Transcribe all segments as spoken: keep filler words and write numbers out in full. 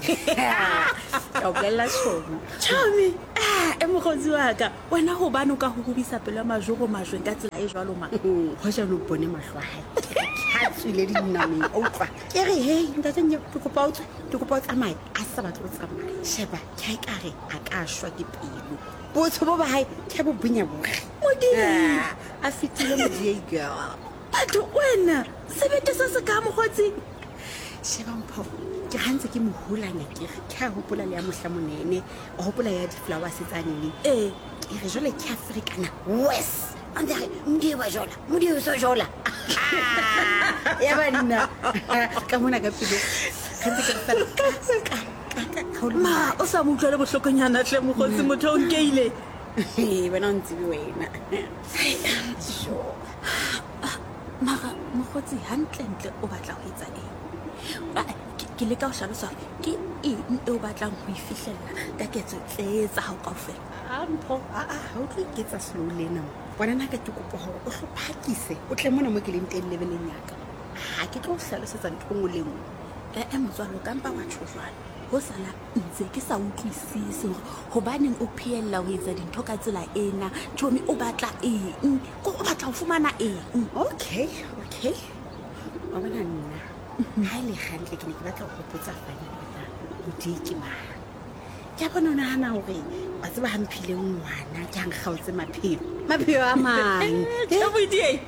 Ke o bolella tjhomi. Tjhomi, ah, e mokgotsi wa ka. Wena hobane o ka hurubisa pelo ya majoro majweng ka tsela e jwalo ma. Hoja o bone mahlo a hae. Ha tswile dinameng, o utlwa. Ke re hey ntate Nnye, ke kopa o tswe, ke kopa o tsamaye. A sa batle ho tsamaya. Sheba, ke ha ekare a ka shwa ke pelo. Botsho bo ba hae ke bo bonya bohle. Modimo. A fetile Modiei girl. Batho wena, sebete se se ka mokgotsi. Sheba mpho, ke gantse ke mo hulanya ke re ke a hopola le ya mohla monene, o hopola ya di-flowers tsanene. Ee. Ke re jwale ke a ferekana worse. A ntse a re Modiei wa jola, Modiei o so jola. Ya ba nna ka mona ka pelo. Gantse ke re fela ka ka ka ka ka o le Ma, o sa mo utlwele bohlokonyana hle mokgotsi motho o nkeile. Ee, wena o ntsebe wena. Sure. Mara mokgotsi hantlentle o batla ho etsa eng? Ah, Ke ke leka ho hlalosa hore ke eng e o batlang ho e fihlella ka ketso tse tsa hao kaofela. A mpho, a a ha o tlo iketsa slow lena mo. Bona nna ka ke kopa hore o hlo phakise, o tle mona mo ke leng teng lebeleng ya ka. Ha ke tlo o hlalosetsa ntho e nngwe le e nngwe. Eh, motswalo ka mpa wa tjho jwalo. Ho sala ntse ke sa utlwisise hore hobaneng o phehella ho etsa dintho ka tsela ena. Tjhomi o batla eng? Ko o batla ho fumana eng? Okay, okay. Wa bona nna, ha e le hantle ke ne ke batla ho hopotsa Fani hore na Modiei ke mang. Ke a bona o nahana hore wa tseba ha mphile ngwana ke ha nkgaotse maphelo. Maphelo a mang. Tjhe, Modiei.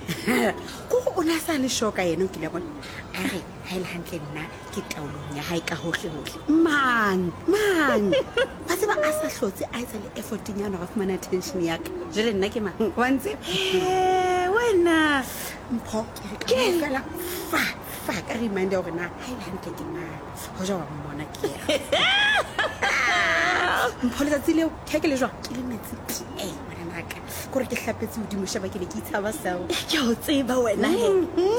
Ko o na sa le sure ka yena o kile wa bona. A re ha e le hantle nna ke taolong ya hae ka hohle hohle. Mang, mang. Wa tseba a sa hlotse a etsa le effort-nyana hore a fumane attention ya ka. Jwale nna ke mang? Wa ntse? Eh, wena. Mpho, ke re ka mo fela fa fa ka reminder hore na ha e le hantle ke mang. Hoja wa mmona ke ya. Mpho letsatsi leo ke ha ke le jwang ke le metsi tee ngwana naka. Kore ke hlapetse hodimo sheba ke ne ke itshaba seo. Ke o tseba wena he.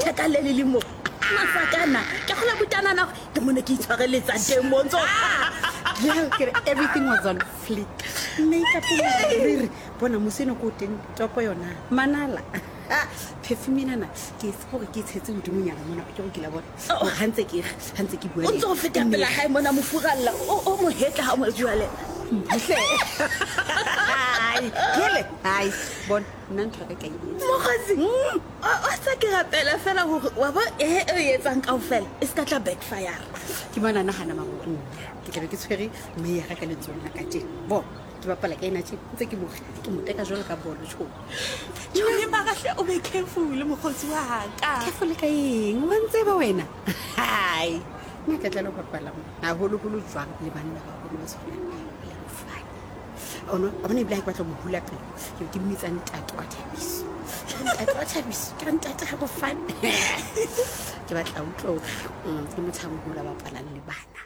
Theka le le le mo. Masakana, ke kgola butanana hore ke mona ke itshwareletsa teng mo ntso. Girl, ke re everything was on fleek. Makeup moriri. Bona mose eno ko teng topo yona. Manala. Perfume enana ke e hore ke e tshetse hodimonyana mona ke go kila bona. Hore ha ntse ke ha ntse ke bua O le ntso o feta pela hae mona mofuralla o o mo hetla ha o mo bua le. Hle. Ai, kele. Ai, bona nna ntho ya ka ka e etsa. Mokgotsi, o o sa ke rapela fela hore wa bo e e etsang kaofela e ska tla backfire. Ke bona nahana maro nna ke tlabe ke tshwere mme ya ka ka letsohong la ka tjena. Bona ke bapala ka ena tjena ntse ke mo ke mo teka jwalo ka bolo tjho. Tjhomi mara hle o be careful mokgotsi wa ka. Careful ka eng? Wa ntseba wena? Hai. Nna ke tla lo bapala mo. Haholoholo jwang le banna ba baholo ba tshwanang le Mofani. Ono, a bona ebile ha ke batla ho mo hula pelo. Ke ke mmitsa ntate wa Thabiso. Ke re ntate wa Thabiso, ke re ntate ha Mofani. Ke batla utlwa hore mm, ke motho a moholo a bapalang le bana.